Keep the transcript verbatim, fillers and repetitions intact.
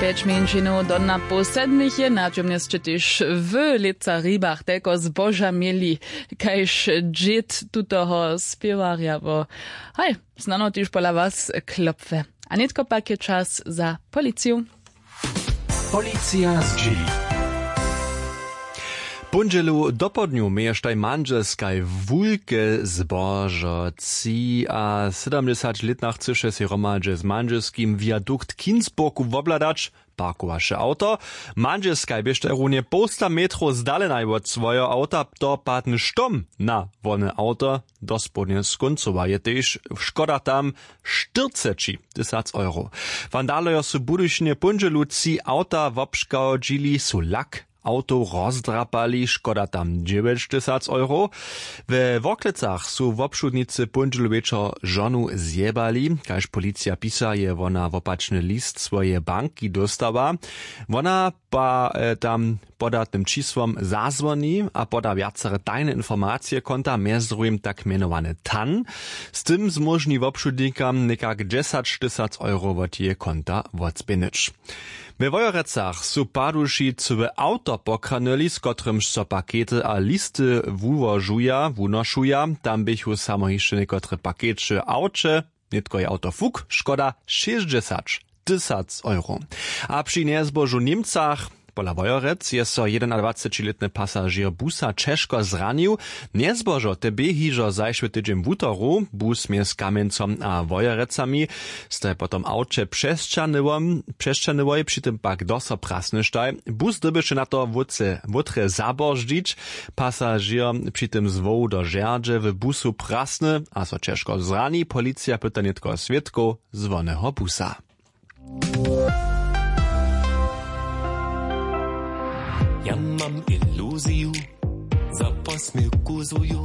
Pjeć mjeńšinow do na poł sedmich je na čomnjesće tež w lětca hribach telko zboža měli, kaž dźěd tutoho spěwarja wo haj, snano tež pola was klopfe. A nětko pak je čas za policiju. Policija zdźěli. Póndźelu dopołdnju měještaj mandźelskaj wulke zbožo. Třiasydomdźesaćlětna chcyše sej hromadźe z mandźelskim viadukt w Kinsburgu wobhladać. Parkowaše awto. Mandźelskaj běštaj runje połsta metrow zdalenaj wot swojeho awta, to padny štom na wone awto dospołdnje skóncowa je tež. Škoda tam štyrceći tysac euro. Wandalojo su w budyšinje póndźelu tři awta wobškodźili, su lak awtow rozdrapali, škoda tam dźewjećtysac euro. We worklecach su wobšudnicy póndźelu wječor žonu zjebali. Kaž policija pisa, je wona wopačny list swojeje banki dóstała. Wona pa e, tam podatnym čisłom zazwoni a poda wjacere tajne informacije konta, mjez druhim tak mjenowany tan. Z tym zmóžni wobšudnikam někak dźesaćtysac euro wot jeje konta wotspěnyć. We wojerecach su paduši cyłe awto pokranyli, z kotrymž so pakety a listy wuwožuja wunošuja. Tam běchu samo hišće někotre pakeće w awće. Nětko je awto fuk, škoda šěsćdźesać tysac euro. A při njezbožu w němcach, pola wojerec je so jedenadwacećilětny pasažěr busa ćežko zranił. Njezbožo te bě hižo zašły tydźeń wutoru, bus mjez kamjencom a wojerecami staj potom awće přesćanyłoj, při tym pak doso prasnyštaj. Bus dyrbješe na to wótře wótre zaboždźić. Pasažěr při tym zwoł do žerdźe w busu prasny a so ćežko zrani. Policija pyta nětko swědkow z woneho busa. Ja mam iluziju, za posměwku zuju.